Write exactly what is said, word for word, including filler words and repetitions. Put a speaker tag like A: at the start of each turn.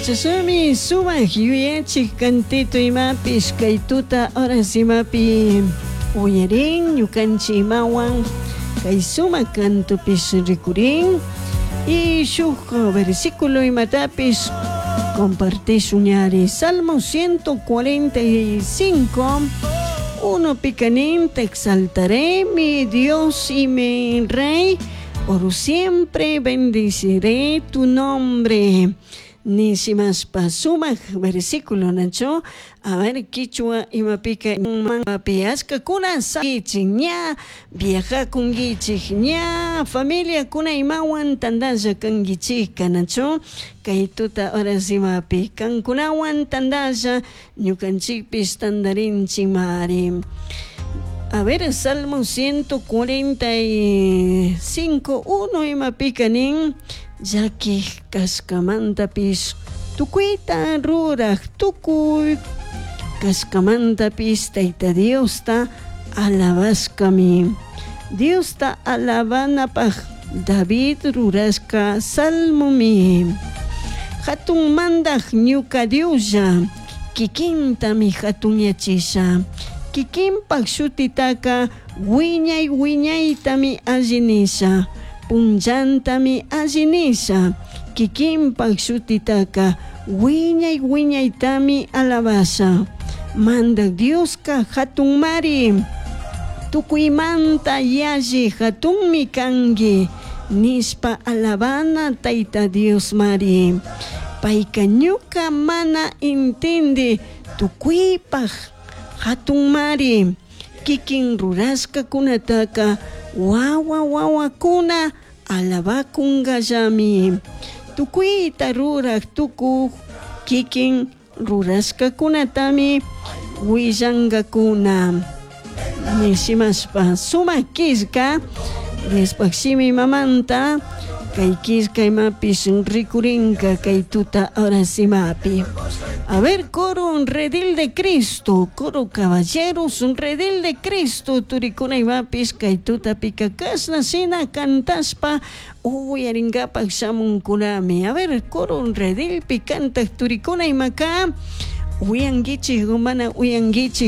A: Chashnami sumak yuyachik cantito imapish kay tuta horas imapi uyarin ñukanchik imawan kay sumak cantopish rikurin y shuk versículo imatapish compartishun ñari. Salmo ciento cuarenta y cinco uno picanín: te exaltaré, mi Dios y mi Rey, por siempre bendeciré tu nombre. Nishimashpa sumak versículo, nacho. A ver, kichwa imapika piashkakuna sakichik ña viajakunkichik ña familiakuna imawan tandalla kankichikka, nacho. Kay tuta horas imapi kankunawan tandalla ñukanchikpish tandarinchikmari. A ver, Salmo ciento cuarenta y cinco, uno imapika nin: llakij kashkamantapish tukuyta ruraj tukuy kashkamantapish Tayta Diosta alabashkami. Diosta alabanapaj David rurashka salmomi. Hatun mandaj ñuka Dioslla, kikintami hatunyachisha. Kikinpak shutitaka wiñay wiñaytami alli nisha. Punllantami alli nisha. Kikinpak shutitaka wiñay wiñaytami alabasha. Mandaj Dioska hatunmari. Tukuymanta yalli hatunmi kanki. Nishpa alabana Tayta Diosmari. Payka ñuka mana intindi tukuypaj hatunmari. Kikin rurashkakunataka wawa wawakuna alabakunkallami. Tukuyta ruraj tukuj kikin rurashkakunatami willankakuna. Nishimashpa sumak killka Diospaj shimi mamanta kay killka imapish rikurinka kay tuta horas imapi. A ver, coro un redil de Cristo, coro caballeros un redil de Cristo, turikuna imapish kay tutapika kashna shina cantashpa uyarinkapak shamunkunami. A ver, coro un redilpi kantak turikuna imaka uyankichik o mana uyankichik.